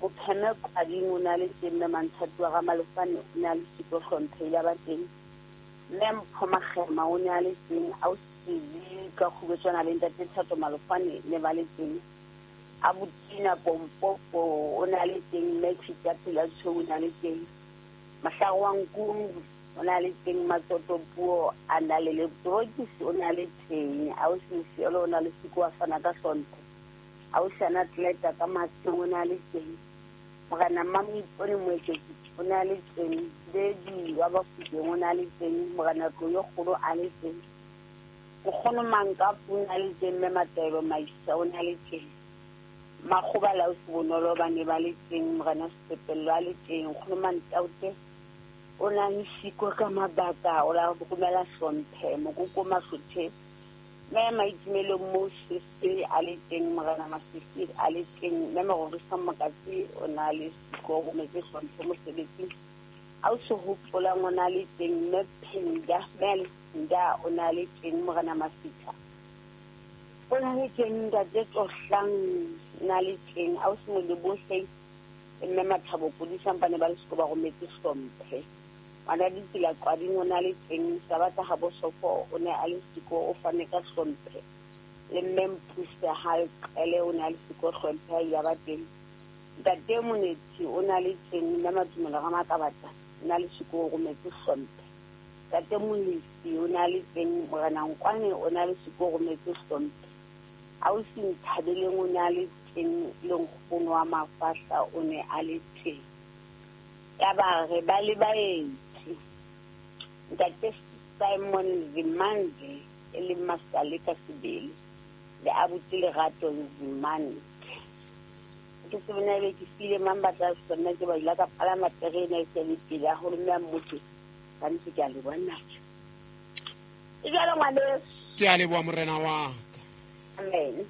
Mopheme Qading o ne a le teng, Mme Manthati wa Ramalefane o ne a le siko hlomphe ya ba teng. Mme Mpho Makgema o ne a le teng, Ausi ka Kgubetswana le Ntate Thato Malofane ne ba le teng. Abutina Pompopo o ne a le teng, Mme Chita Phela Tshweu o ne a le teng. Mahlare wa Nkungu o ne a le teng, Matsoto Puo a na le Lebrokisi o ne a le teng, Ausi Mfiolo o ne a le siko wa fana ka hlompho. Ausi Anatleta ka Matsheng o ne a le teng. Morena Mamoipone Moeketsi o ne a le teng. Bedi wa Bafokeng o ne a le teng. Morena Tloyo Kgolo a le teng. Nkgono Mankapu o ne a le teng, Mme Mataelo Maisa o ne a le teng. Makgoba le Ausi Bonolo ba ne ba le teng, Morena Sepepello a le teng. Nkgono Mantaute o ne a le siko ka mabaka, o la romela hlomphe. Mokoko Mahlothe, Mme Maitumelong Moses a le teng, Morena Masisi a le teng, Mme Mororisa Mokatsi o ne a le siko, o rometse hlomphe mosebetsing. Ausi Hopolang o ne a le teng, Mme Phinda, Mme Alexinda o ne a le teng, Morena Masitha o ne a le teng, Ntate Tlohlang o ne a le teng, Ausi Molebohle le Mme Mathabo Kodisang ba ne ba le siko ba rometse hlomphe. Ngwana Ditsela Qwading o ne a le teng, Sabatha Habosofo o ne a le siko o fane ka hlomphe. Le Mme Mpuse Halqele o ne a le siko hlomphe a ile ba teng. Ntate Monethi o ne a le teng, Mme Matumelo Ramakabata o ne a le siko o rometse hlomphe. Ntate Molisi o ne a le teng, Morena Nkwane o ne a le siko o rometse hlomphe. Ausi Nthabeleng o ne a le teng, le nkgono wa Mafahla o ne a le teng. Yaba re ba le baeti. Ntate Simon Zimande e leng Masale ka sebele le abuti Lerato Zimande. Ke se bona ebe ke file mang ba tla sona ke ba ile ka palama terene e se le pele haholo mme a mmotse ka ntse ke a le bona. E jwalo ngwaneso. Ke a leboha morena wa ka. Amen.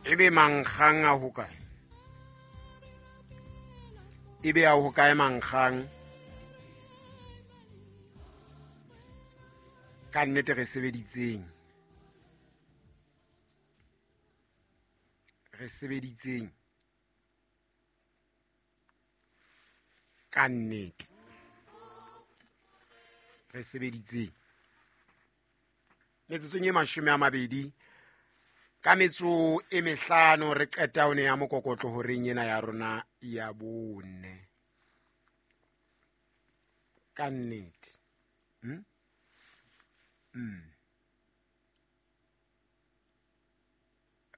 Ebe mankgang a hokae? Ebe a hokae mankgang? Ka nnete re sebeditseng. Re sebeditseng. Ka nnete. Re sebeditseng. Metsotsong e 20 ka metso e mehlano re qeta one ya mokokotlo horeng ena ya rona ya bone. Ka nnete.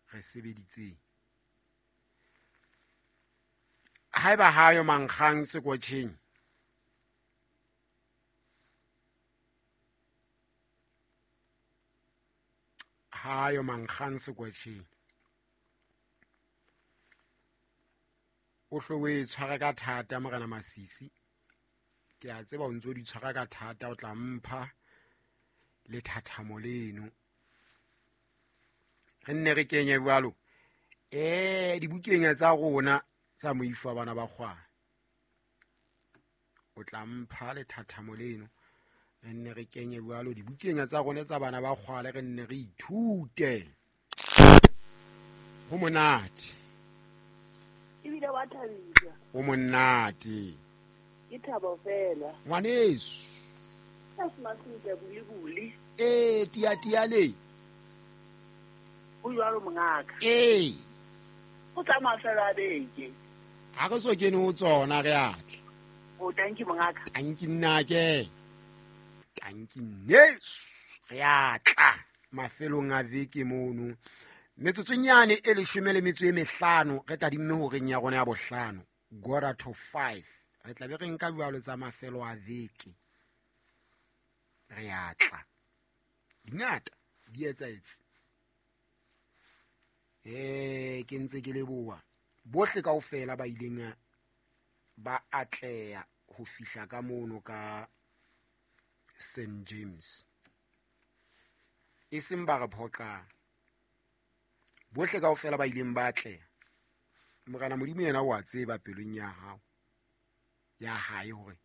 Re sebeditseng. Haeba hayo mankgang sekotjheng, hayo mankgang sekwatjheng, o hlo o e tshwara ka thata Morena Masisi. Ke a tseba o ntso di tshwara ka thata, o tla mpha lethathamo leno. Re nne re kenye jwalo dibukeng tsa rona tsa moifo wa bana ba kgwana. O tla mpha lethathamo leno, re nne re kenye jwalo dibukeng tsa rona tsa bana ba kgwale, re nne re ithute. Ho monate. Ebile wa thabisa. Ho monate. Ke thabo fela. Ngwaneso. Ka semasinka bule bule. Tia tia le. O jwalo mongaka. O tsamaya fela a beke. Ha re so kene ho tsona re atla. O tanki mongaka. Tanki nna ke. Tanki nneso. Re atla mafelong a veke mono. Metsotsonyane e 15 re tadimme horeng ya rona ya bohlano, 4:45. Re tla be re nka jwalo tsa mafelo a veke. Re atla. Dingata di etsaetse. Ke ntse ke leboha bohle kaofela ba ileng ba atleha ho fihla ka mono ka St James. E seng ba re phoqang. Bohle kaofela ba ileng ba atleha. Morena Modimo yena o a tseba pelong ya hao, ya hae hore